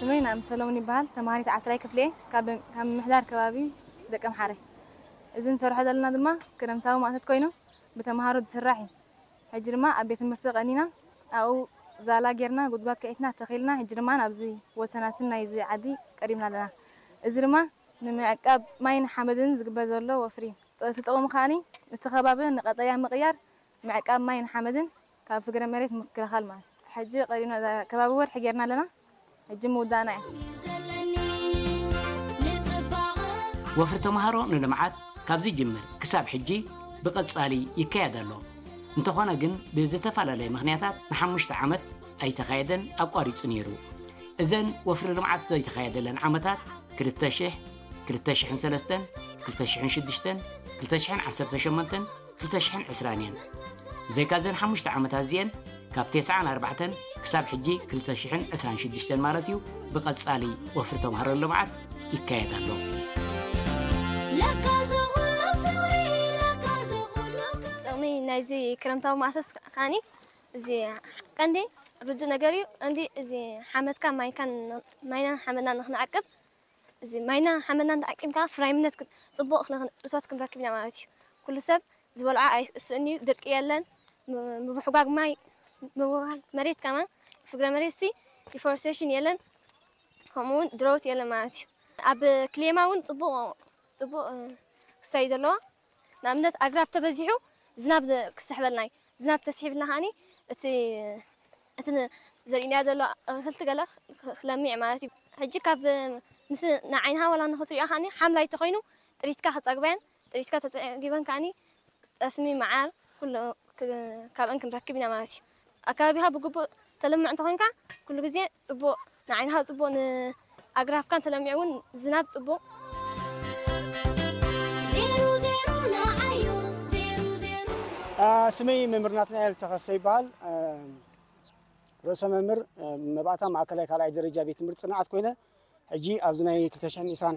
ስመይ ናም ሰሎሞን ይበሃል። ተማሃሪት ዓስራይ ክፍሊ እየ። ካብ ካብ ምምሕዳር ከባቢ ደቀምሓረ። እዚ ንሰርሖ ዘለና ድማ ክረምታዊ ማእቶት ኮይኑ ብተምሃሮ ዝስራሕ እዩ። ሕጂ ድማ ኣብ ቤት ትምህርቲ ቀኒና ኣብኡ ዛላ ጌርና ጉድጓድ ከዒትና ተኺልና ሕጂ ድማ ኣብዚ ወሰናስን ናይዚ ዓዲ ቀሪብና ኣለና። እዚ ድማ ንምዕቃብ ማይን ሓመድን ዝግበር ዘሎ ወፍሪ እዩ። እቲ ጥቕሙ ከኣኒ እቲ ከባቢ ንቐጠያ ምቕያር ምዕቃብ ማይን ሓመድን ካብ ፍግረ መሬት ምክልኻል ማለት እዩ። ሕጂ ቀሪብና እዛ ከባቢ ወርሒ ጌርና ኣለና። ሕጂ ምውዳእና እዩ። ወፍሪ ተምሃሮ ንልምዓት ካብ ዝጅምር ክሳብ ሕጂ ብቐጻሊ ይካየድ ኣሎ። እንተኾነ ግን ብዝተፈላለየ ምኽንያታት ንሓሙሽተ ዓመት ኣይተኻየደን፣ ኣቋሪጹ ነይሩ። እዘን ወፍሪ ልምዓት ዘይተኻየደለን ዓመታት ክልተ ሽሕ፣ ክልተ ሽሕን ሰለስተን፣ ክልተ ሽሕን ሽዱሽተን፣ ክልተ ሽሕን ዓሰርተ ሸሞንተን፣ ክልተ ሽሕን ዕስራን እየን። ብዘይካ እዘን ሓሙሽተ ዓመታት እዚኤን ካብ ተስዓን ኣርባዕተን ክሳብ ሕጂ ክልተ ሽሕን ዕስራን ሽዱሽተን ማለት እዩ ብቐጻሊ ወፍሪ ተምሃሮ ልምዓት ይካየድ ኣሎ። ለካ እዚ ኩሉ ፍቕሪ ለካ እዚ ኩሉ ጥቕሚ ናይዚ ክረምታዊ ማእቶት ከዓኒ እዚ ቀንዲ ርዱእ ነገር እዩ። ቀንዲ እዚ ሓመድካ ማይካን ማይናን ሓመድና ንክንዓቅብ እዚ ማይና ሓመድና እንተዓቂብካ ፍራይምነት ፅቡቕ እቶት ክንረክብ ኢና ማለት እዩ። ኩሉ ሰብ ዝበልዖ ኣይስእን እዩ፣ ድርቂ የለን፣ ምብሕጓግ ማይ ምብህጓግ መሬት ከማን ፍግረ መሬት ሲ ዲፎረስቴሽን የለን፣ ከምኡ እውን ድሮውት የለን ማለት እዩ። ኣብ ክሌማ እውን ፅቡቕ ፅቡቕ ክሳይ ዘለዎ ንኣብነት ኣግራብ ተበዚሑ ዝናብ ክስሕበልና እዩ። ዝናብ ተስሒብልና ከዓኒ እቲ እቲ ዘርእና ዘሎ ኣትክልቲ ገለ ክለሚዕ ማለት እዩ። ሕጂ ካብ ምስ ንዓይንኻ ዋላ ንኽትሪኦ ከዓኒ ሓምላይ ተኾይኑ ጥሪትካ ክፀግባያን ጥሪትካ ተፀጊበን ከዓኒ ጠስሚ መዓር ኩሉ ካብአን ክንረክብ ኢና ማለት እዩ። ኣከባቢኻ ብግቡእ ተለምዕ እንተኾንካ ኩሉ ግዜ ፅቡቕ ንዓይንኻ ፅቡቕ ንኣግራብካን ተለሚዑ እውን ዝናብ ፅቡቕ ዜሩ ዜሩ ንዓዮ ዜሩ ዜሩ ስመይ መምህር ናትናኤል ተኸስተ ይበሃል። ርእሰ መምህር መባእታ ማእከላይ ካልኣይ ደረጃ ቤት ትምህርቲ ፅንዓት ኮይነ ሕጂ ኣብዚ ናይ ክልተ ሽሕን ዕስራን